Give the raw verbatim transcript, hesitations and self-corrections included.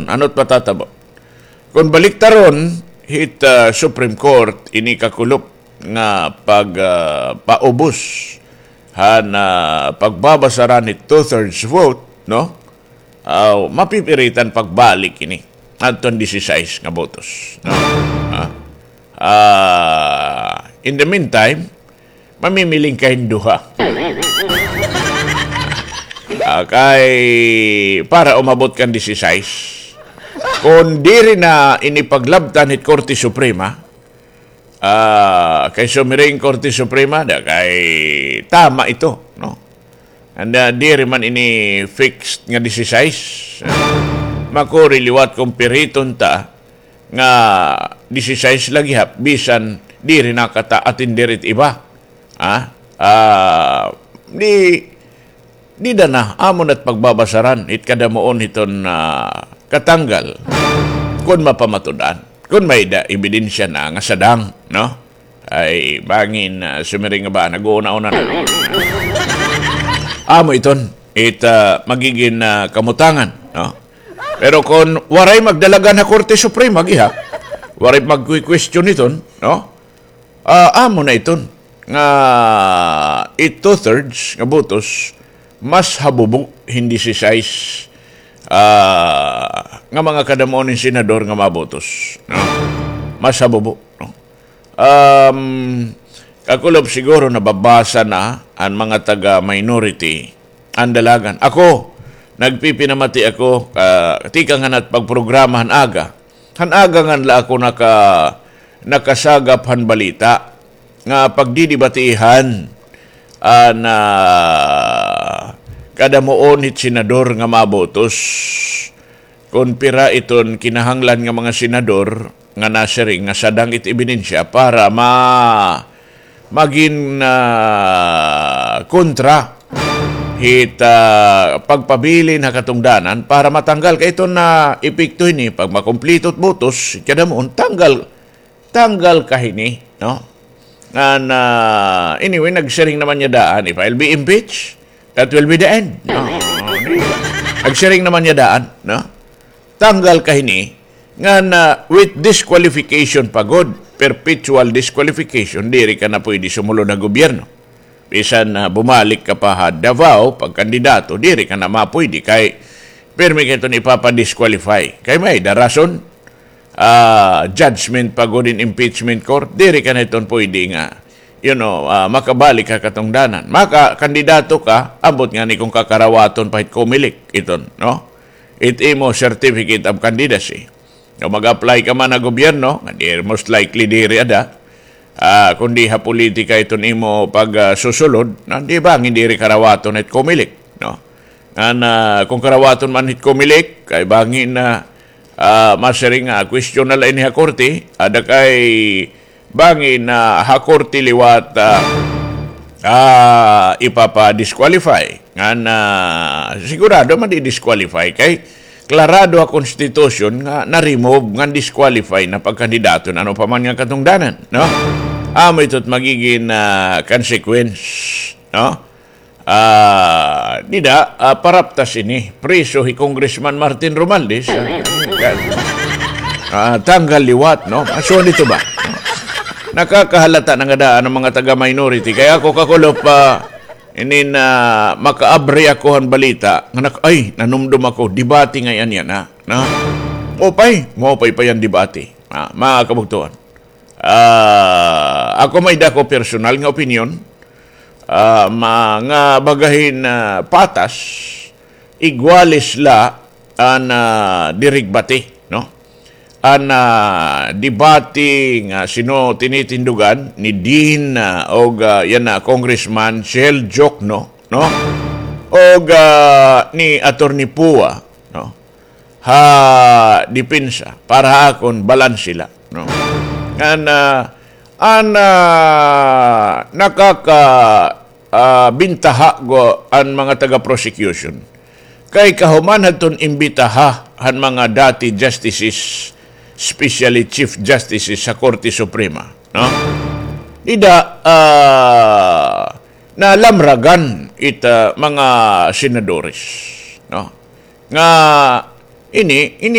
Ano it matatabo? Kon baliktaron hit, ah, Supreme Court ini kakulop nga pag, ah, paubos han, ah, pagbabasaran hit two-thirds vote, no? Aw, mapipiritan pagbalik ini adton disisais nga botos, no? Ah, ah, in the meantime, mamimiling ka hin duha. Ah, kay para umabot kan disisais. Kon diri na ini paglabtan hit Korte Suprema, ah, kay sumiring Korte Suprema, da kay tama ito, no? Anda, diri man ini fixed nga disisais. Makuri liwat kon piriton ta nga disisais la gihap, bisan diri na kata atender it iba. Ha? Ah, di, dida na, amo na it pagbabasaran, it kadamuon hiton, ah, katanggal. Kon mapamatud-an, kon may-ada ebidensya na nga sadang, no? Ay, bangin, ah, sumiring nga ba, nag-uuna-una na. Amo iton, it, ah, magigin, ah, kamutangan, no? Pero kon waray magdalagan ha Korte Suprema, gihap, waray magkukwestiyon iton, no? Ah, amo na iton nga it two-thirds nga botos mas habubo hin disisais, ah, nga mga kadamuon hin senador nga mabotos, no? Mas habubo, no? Um, kakulop siguro nababasa na an mga taga-minority an dalagan. Ako, nagpipinamati ako, ah, tikang han at pagprograma han aga. Han aga ngan la ako naka-, nakasagap han balita nga pagdidibatihan an, ah, kadamuon hit senador nga mabotos. Kon pira iton kinahanglan nga mga senador nga nasiring nga sadang it ebidensya para ma-, magin, ah, kontra hit, ah, pagpabilin ha katungdanan para matanggal kay iton na epekto hini pag makumplito it botos, kadamuon tanggal, tanggal ka hini, no? Ngan, ah, anyway, nagsiring naman niya daan, if I'll be impeached, that will be the end. No? Nagsiring naman niya daan, no? Tanggal ka hini, ngan, ah, with disqualification pa gud, perpetual disqualification, diri ka na pwede sumulod ha gobyerno. Bisan, ah, bumalik ka pa ha Davao, pagkandidato, diri ka na mapwede kay pirmi ka iton ipapa-disqualify. Kay may-ada rason, ah, judgment pa gud in impeachment court, diri ka na iton pwede nga, you know, ah, makabalik ha katungdanan. Makakandidato ka, ambot ngani kon kakarawaton pa hit Comelec iton, no? It imo certificate of candidacy. Kon mag-apply ka man ha gobyerno, nga di, most likely diri ada, ah, kundi ha politika iton imo pag, ah, susulod, na di bangin diri karawaton hit Comelec, no? Ngan, ah, kon karawaton man hit Comelec, kay bangin na, ah, masiring nga question na la ini ha korte, ada kay bangin na ha korte liwat, ah, ah, ipapa-disqualify. Ngan, ah, sigurado man di-disqualify kay klarado ha konstitusyon nga na-remove ngan disqualify na pagkandidato na ano pa man nga katungdanan, no? Amo ito it magigin, ah, consequence, no? Ah, dida, ah, paraptas ini. Priso hi Congressman Martin Romualdez, ah, ah, tanggal liwat, no? Aso nito ba? Nakakahalata na nga daan an mga taga-minority. Kay ako kakulop, ah, inin, ah, makaabri ako han balita, nga nak-, ay, nanumdom ako, debate ngay-an yana, no? Maupay, maupay pa yan debate. Ah, mga kabugtuan. Ah, ako may-ada ako personal nga opinyon, ah, ma-, nga baga hin, ah, patas, igualis la an, ah, dirigbate, no? An, ah, debate nga sino tinitindugan ni Dean, ah, og, ah, yana, Congressman Shell Jokno, no? Og, ah, ni Attorney Pua, no? Ha depensa, para ha akon, balanse la, no? Ngan, ah, an, ah, nakaka-, ah, bintaha gud an mga taga-prosecution. Kay kahuman hadton imbitaha han mga dati justices, especially Chief Justices sa Korte Suprema, no? Dida, ah, nalamragan it, ah, mga senadores, no? Nga ini, ini